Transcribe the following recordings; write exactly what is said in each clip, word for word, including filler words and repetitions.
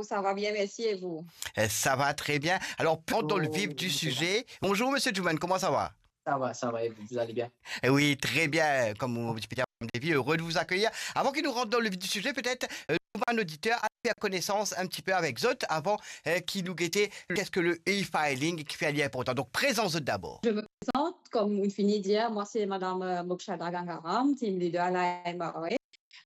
Ça va bien, merci, et vous ? Eh, ça va très bien. Alors, rentrons dans le vif du sujet. Bonjour, monsieur Jouman, comment ça va ? Ça va, ça va, et vous, vous allez bien ? Eh oui, très bien. Comme vous pouvez dire, Madame Davy, heureux de vous accueillir. Avant qu'il nous rentre dans le vif du sujet, peut-être euh, nou bann oditer, al fer konesans enn ti pe avek zot avan euh, ki nou gete qu'est-ce que le e-filing, ki fer li inportan. Donc, présenté d'abord. Je me présente, comme vous venez de dire, moi c'est Madame euh, Mokshada Gangaram, team leader à la M R A.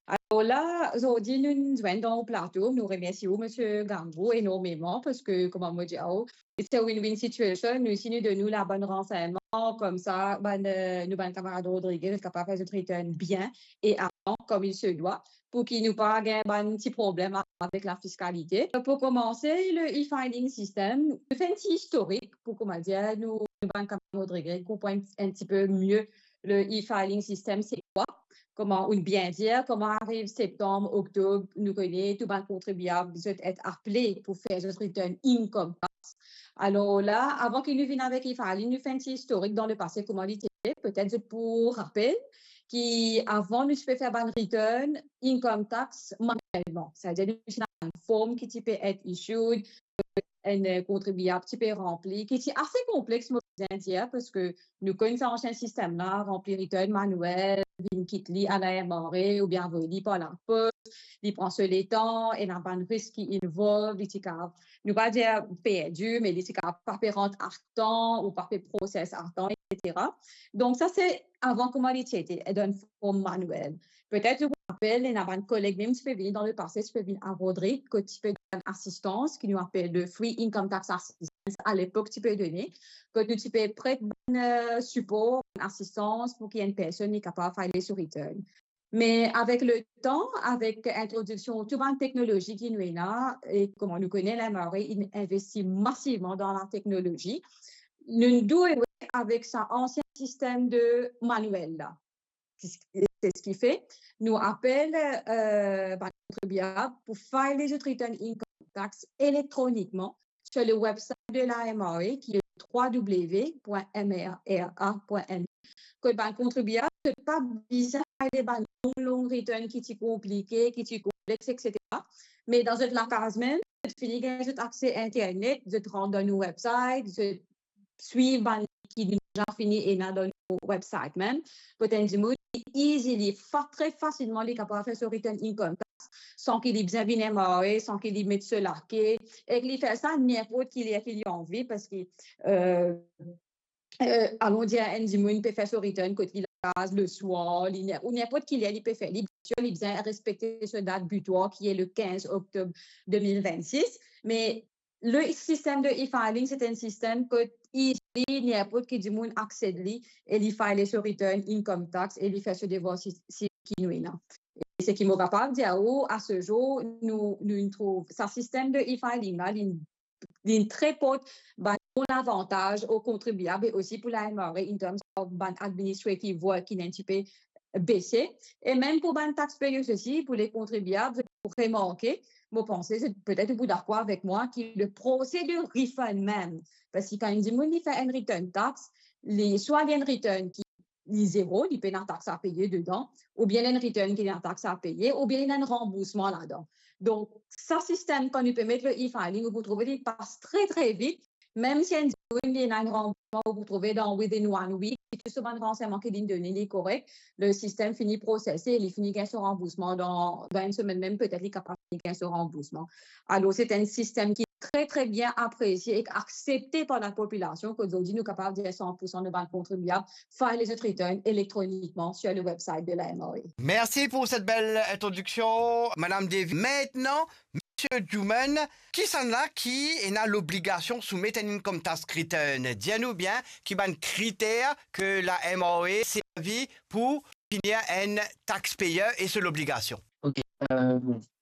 Alors là, aujourd'hui, nous nous joignons au plateau. Nous remercions M. Gangou énormément parce que, comment me dire, oh, c'est a win-win situation. Nous, si nou donn nou la bonne renseignement, comme ça, ben, euh, nou bann kamarad Rodriguez, nou kapav fer zot return bien et avant, comme il se doit, pour ki nou pa gagn bann ti problème avec la fiscalité. Pour commencer, le e-filing system, nou fer enn ti historique pour, comment dire, nou, nou bann kamarad Rodriguez, konpran enn ti pe mieux le e-filing system, c'est quoi ? Kouma, ou bien dir, kouma ariv septanm, oktob, nou kone tou bann kontribiab zot et apele pour fer zot return income tax. Alors là, avant que nou vinn avek e-filing, nou fer enn ti historique dans le passé, kouma li ti ete, peut-être zot pou rapel ki avan nou ti pe fer bann return income tax manuellement. C'est-à-dire nou ti ena enn form ki ti pe et issued, enn euh, kontribiab ti pe ranpli, ki ti ase konplex, mo bizin dir, parski nou konn sa ansien sistem la, ranpli return manuel, vinn kit li a la M R A oubien avoy li par lapos, li pran so letan, ena bann risk ki involve, li ti kapav, nou pa dir perdi, me li ti kapav pa pe rant a tan ou pa pe process a tan, et cetera. Donc ça c'est avant kouma li ti ete, dan form manuel. Peut-être ou rapel, ena bann koleg mem ti pe vini dan le passé, ti pe vinn a Rodrig, kot ti pe donn asistans, ki nou apel le Free Income Tax Assistance, a lepok ti pe done, kot nou ti pe pret bann euh, sipor, bann asistans pour ki enn personn li kapav file so return. Me avek le tan, avek introdiksion tou bann teknolozi ki nou ena, e kouma nou kone, la M R A inn investi masivman dan la teknolozi, nou dwe avek sa ansien sistem de manuel la. C'est ce qui fait, nou apel euh, bann kontribiab pour file zot return income tax électroniquement sur le website de la M R A, qui est trois W point M R A point M E. Kot bann kontribiab, zot pa bizin file bann long, long return ki ti konplike, ki ti konplex, et cetera. Me dan zot lakaz mem, zot fini gagn zot akse internet, zot rant dan nou website, zot swiv bann ki nou deza fini ena dan nou website mem. Kot enn dimoun, li easily, fa, tre fasilman, li kapav fer so return income tax san ki li bizin vinn M R A, san ki li met so lake, ek li fer sa ninport ki ler ki li anvi, parski euh, euh, alon dir enn dimoun pe fer so return kot li lakaz, le soir, li, ou ninport ki ler li pe fer. Li, bien sûr, li bizin respekte so dat butoir ki est le quinze octobre deux mille vingt-six, me le sistem de e-filing, c'est un système kot easily, ninport ki dimoun accède li e li file so return income tax e li fer so devwar si, si ki nou ena. E seki mo kapav dir ou, a se zour, nou, nou trouv sa sistem de e-filing la, li, li tre port bann bon lavantaz o kontribiab e osi pour la M R A in terms of bann administrative work ki inn enn ti pe bese. E mem pour bann taxpayers osi, pour le kontribiab, pour remarke, mo panse, petet ou pou dakor avek mwa, ki le procès de refund mem, parski kan enn dimoun li fer enn return tax, li swa li enn return ki li zero, li pena tax a peye dedan, oubien enn return ki ena tax a peye, oubien ena enn ranboursman ladan. Donk, sa sistem, kan nou pe met le e-filing, ou pou trouve li pas tre, tre vit, mem si enn dimoun li ena enn ranboursman, ou pou trouve dan within one week, si tou so bann ransegnman ki li'nn done li korek, le sistem fini prosese, li fini gagn so ranboursman dan, dan enn semenn mem, petet li kapav fini gagn so ranboursman. Alor, c'est un système qui est très, très bien apprécié et accepté par la population, kot zordi nou kapav dir san pour san de bann kontribiab file zot return électroniquement sur le website de la M R A. Merci pour cette belle introduction, Madame Davy. Maintenant, Monsieur Jouman, kisannla ki ena lobligasion soumet enn income tax return ? Dir nou bien ki bann kriter ke la M R A servi pour devenir un taxpayer e so lobligasion. Ok, euh,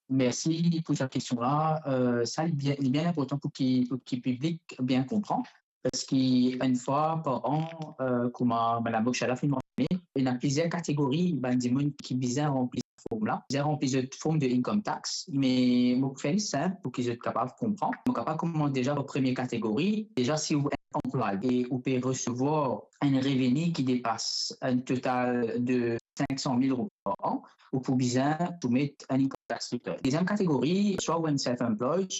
merci pour cette question-là. Euh, sa li bien, li bien inportan pour ki, pour ki piblik bien konpran. Parski enn fwa par an, euh, kouma Madame Mokshada finn mansione, ena plizier kategori bann dimoun ki bizin ranpli sa form la, bizin ranpli zot form de income tax, me mo pou fer li sinp pour ki zot kapav konpran. Mo kapav koumans deza par premie kategori. Deza, si ou enn anplwaye e ou pe resevwar enn reveni ki depas enn total de cinq cent mille roupi par an, ou pou bizin soumet enn income tax return. Deziem kategori, swa ou enn self-employed, swa